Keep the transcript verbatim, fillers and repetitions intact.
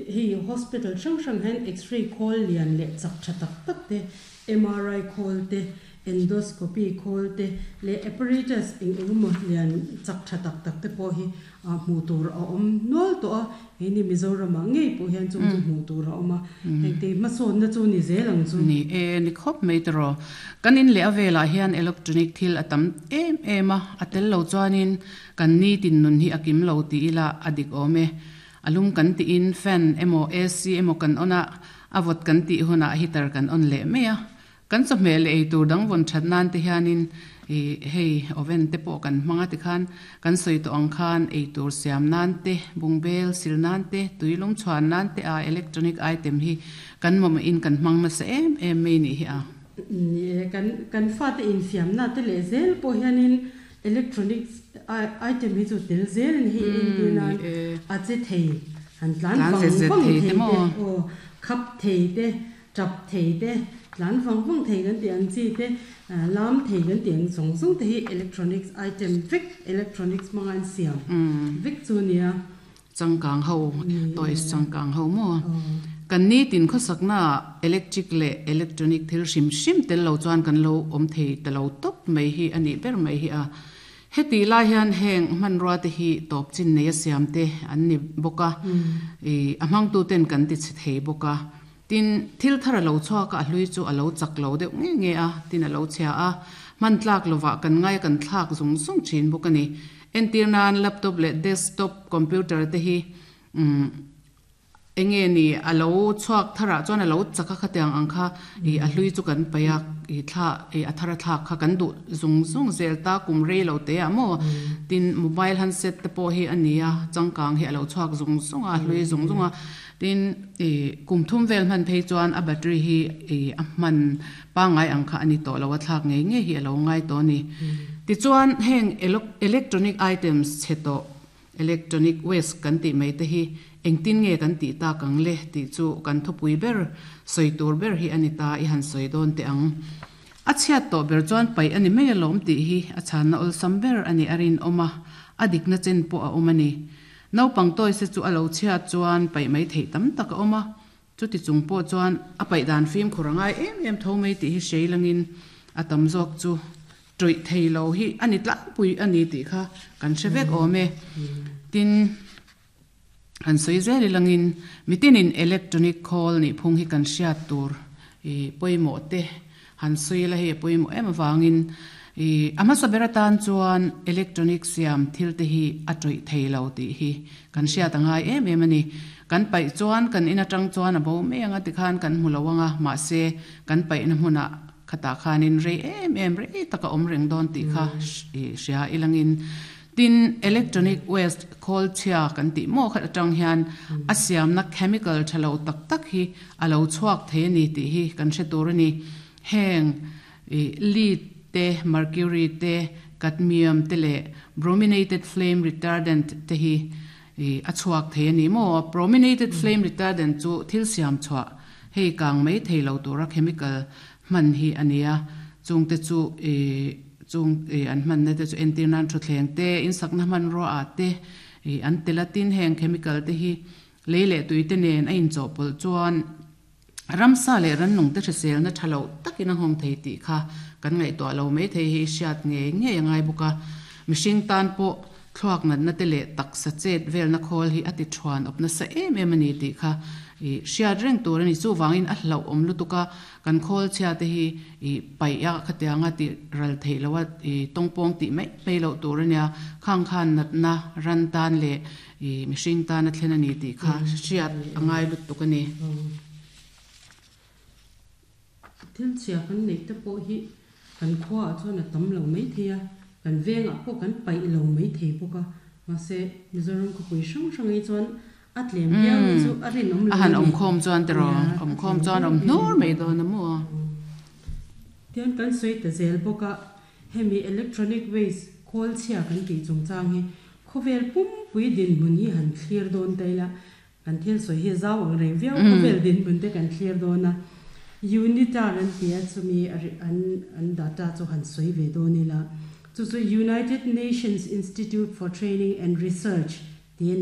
Hei hospital hrang hrang hian x-ray khawl lian leh chak tha tak tak te, M R I khawl te, endoscopy khawl te leh apparatus eng engemaw lian chak tha tak tak te pawh hi hmuh tur a awm nual tawh a. Hei ni Mizoramah ngei pawh hian chung chu hmuh tur a awm a. Heng te hmasawnna chu ni zel ang chu. Ni e, ni khawp mai te rawh. Kan in leh a velah hian electronic thil a tam em em a, a tel lo chuanin kan ni tin nun hi a kim lo tih ila a dik awm e. Alum kan tiin fan emaw A C emaw kan on a, a vawt kan tih hunah heater kan on leh mai a. Kan chawhmeh leh ei tur dang vawn that nan te hianin hei oven te pawh kan hmang a tikhan kan sawi tawh ang khan ei tur siam nan te, bungbel sil nan te, tuilum chhuan nan te a electronic item hi kan mamawh in kan hmang nasa em em mai nih hi a. Ni e, kan kan fate infiam na te leh zel pawh hianin electronic item hi chu tel zel in hei entir nan a che thei han tlan vang vang thei te aw khap thei te, tap thei te, tlan vang vang thei kan tih ang chi te, lam thei kan tih ang zawng zawng te hi electronics item vek electronics hmanga an siam vek chu nia. Changkang ho toys changkang ho maw. Kan ni tin khawsakna electric leh electronic thil hrim hrim tel lo chuan kan lo awm thei ta lo tawp mai hi a nih ber mai hi a. Heti lai hian heng hmanrua te hi tawp chin nei a siam te an ni bawk a, a hmangtu ten kan ti chhe thei bawk a. Tin thil thar a lo chhuak a, a hlui chu a lo chak lo deuh nge nge a, tin a lo chhia a, hman tlak lovah kan ngai kan thlak zung zung thin bawk a ni. Entir nan laptop leh desktop computer te hi enge ni a lo chhuak tharah chuan a lo chak a khatiang ang kha a hlui chu kan paih a, thla a thar a thlak kha kan duh zung zung zel ta kum rei lo te ah maw. Tin mobile handset te pawh hi a ni a, changkang hi a lo chhuak zung zung a, a hlui zung zung a. Tin kum thum vel hman phei chuan a battery hi a hman pangai ang kha a ni tawh lo a, thlak ngei ngei hi a lo ngai tawh a ni. Tichuan heng electronic items chhe tawh electronic waste kan tih mai te hi engtin nge kan tih tak ang le tih chu kan thupui ber sawi tur ber hi a ni ta i han sawi dawn teh ang. A chhiat tawh ber chuan paih a ni mai alawm tih hi a chhanna awlsam ber a ni a rinawm a, a dikna chen pawh a awm a ni. Naupang toys te chu a lo chhiat chuan paih mai theih tam tak a awm a, chuti chung pawh chuan a paih dan fimkhur a ngai em em tho mai tih hi hrei langin a tam zawk chu tawih thei lo hi a ni tlangpui a ni tih kha kan hre vek awm e. Tin han sawi zel ilangin mitinin electronic khawl nih phung hi kan hriat tur pawimawh te han sawi la hei a pawimawh em avangin a hmasa ber atan chuan electronic siam thil te hi a tawih thei lo tih hi kan hriat a ngai em em a ni. Kan paih chuan kan in atang chuan a bo mai anga tikhan kan hmu lo anga, mahse kan paihna hmunah khata khanin rei em em rei taka awm reng dawn tih kha hria ilangin. Tin electronic waste khawl chhia kan tih maw khat atang hian a siamna chemical tha lo tak tak hi a lo chhuak thei a ni tih hi kan hre tur a ni. Heng lead te, mercury te, cadmium te leh brominated flame retardant te hi a chhuak thei a ni maw. Brominated flame retardant chu thil siam chhuah hei kang mai thei lo tura chemical hman hi a ni a, chung te chu chung an hmanna te chu entir nan thutthleng te, insakna hmanrua ah te an tel a. Tin heng chemical te hi lei leh tui te nen a inchawhpawlh chuan ramsa leh rannung te hriselna tha lo takin a nghawng thei tih kha kan ngaihtuah lo mai thei hi hriat ngei ngei a ngai bawk a. Mihring tan pawh thluak natna te leh taksa chet velna khawl hi a ti thuan awp nasa em em a ni tih kha hriat reng tur a ni. Chuvangin a hlauh awm lutuk a, kan khawl chhia te hi paih a khatianga ti ral theih lo a, tawngpawng tih mai mai loh tur a nia. Khang khan natna ran tan leh mihring tan a thlen a ni tih kha hriat a ngai lutuk a ni. Thil chhia kan neih te pawh hi kan khuaah chuan a tam lo mai thei a, kan vengah pawh kan paih lo mai thei bawk a, mahse Mizoram khawpui hrang hrang hi chuan a tlem viau hi chu a rinawm lo a han awm khawm chuan te rawh awm khawm chuan awm hnur mai dawn a maw. Tian kan sawi ta zel bawk a, hemi electronic waste khawl chhia kan tih chungchang hi khawvel pumpui dinhmun hi han thlir dawn ta ila, kan thil sawi hi zau ang reng viau khawvel dinhmun te kan thlir dawn a. UNITAR an ti a, chumi an an data chu han sawi ve dawn ila, chu chu United Nations Institute for Training and Research